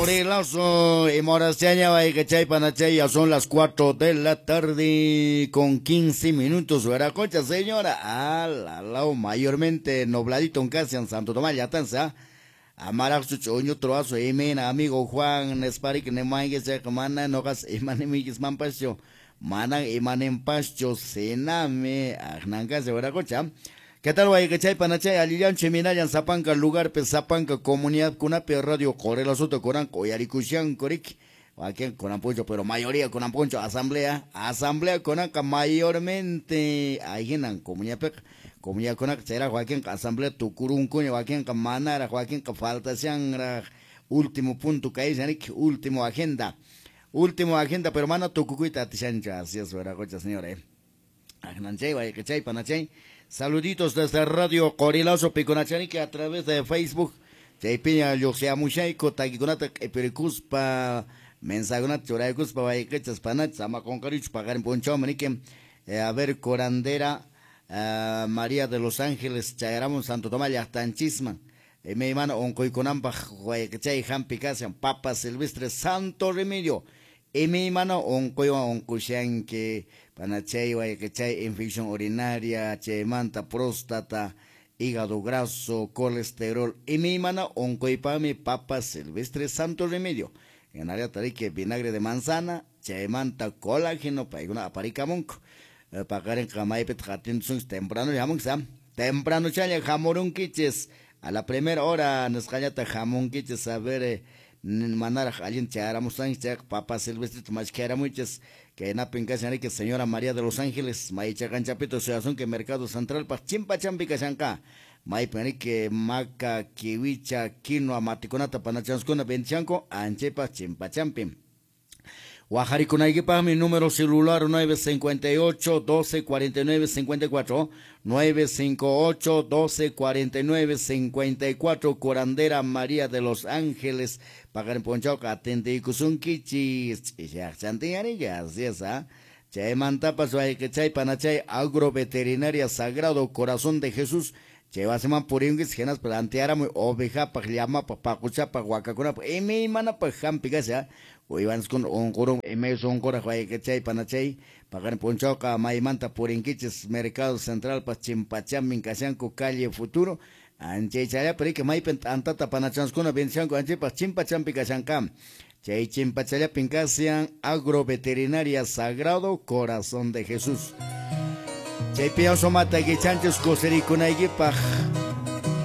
Qorilazo y Moraseña, chay, ya son las 4 de la tarde con 15 minutos. Veracocha, señora, al lado mayormente nubladito en casi en Santo Tomás, ya tanza. Amaraqchu ch'uñu troazo imina amigo Juan Nesparik nemanguis mana noqas imanimikis manpaschu manan imaninpaschu sinami aqnankasi wiraqucha. ¿Qué tal wayqichay panachay allillanchu iminallan sapanka lugarpi sapanka comunidadkunapi radio Qorilazuta kuranqa uyarikushanku riki wakin kunan puncho pero mayoría kunan puncho asamblea asamblea kunanqa mayormente ahinan comunidadpiqa comunidadkunaqa chayraq wakinqa asamblea tukurunkuña wakinqa manaraq wakinqa faltashanraq último punto kayshan riki último agenda pero mana tukukuyta atishanchu. Así es wiraqucha señora. Aqnanchay wayqichay panachay. Saluditos desde Radio Qorilazo Piconachaniki a través de Facebook. Chaypiña lluqsiamushayku takikunata q'ipirikuspa mensajekunata churaykuspa wayqichas panachas ama qunqarichu paqarin p'unchawman niki. A ver, curandera María de los Ángeles chayaramun Santo Tomás llaqtanchisman. Imaymana unquykunanpaq wayqichay hampi kashan Papa Silvestre Santo Remedio. Imaymana unquywan unqushanki panachay wayqichay infección urinaria, chaymanta próstata, hígado graso, colesterol, imaymana unquypaqmi Papa Silvestre Santo Remedio. En área tariki vinagre de manzana, chaymanta colágeno, paykuna aparikamunku. Paqarinqa maypitaq atintusunchis temprano hamunchis, temprano challa hamurunkichis, a la primera hora nisqallata hamunkichis, a ver manaraq allin chayaramusanchis chayqa Papa Silvestrito mashkharamuychis. Kaynapin kashan riki señora María de los Ángeles maychaqanchapito suyasunki Mercado Central paq chimpachampi kashanqa maypin riki maca, kiwicha, quinoa matikunata panachanskuna vendishanku anchaypaq chimpachampi. Waqharikunaykipaqmi número celular 958 12 49 54 958 12 49 54 curandera María de los Ángeles paqarin p'unchawqa atendiykusunkichis ch'ishaqchantin así es, ¿ah? Chaymantapas wayqichay panachay agroveterinaria Sagrado Corazón de Jesús chay wasiman purinkis hinaspa plantearamuy ovejapaq llamapaq paquchapaq wakakunapaq imaymanapaq hampi kasha uywanskuna unqurun imayus unquraq wayqichay panachay paqarin p'unchawqa maymanta purinkichis Mercado Centralpas chimpachamin kashanku calle Futuro anchay chayllapi riki maypin t'antata panachanskuna vendishanku anchaypaq chimpachampi kashanqa chay chimpachallapin kashan agroveterinaria Sagrado Corazón de Jesús. Chaypi sumata kichanchis kusirikunaykipaq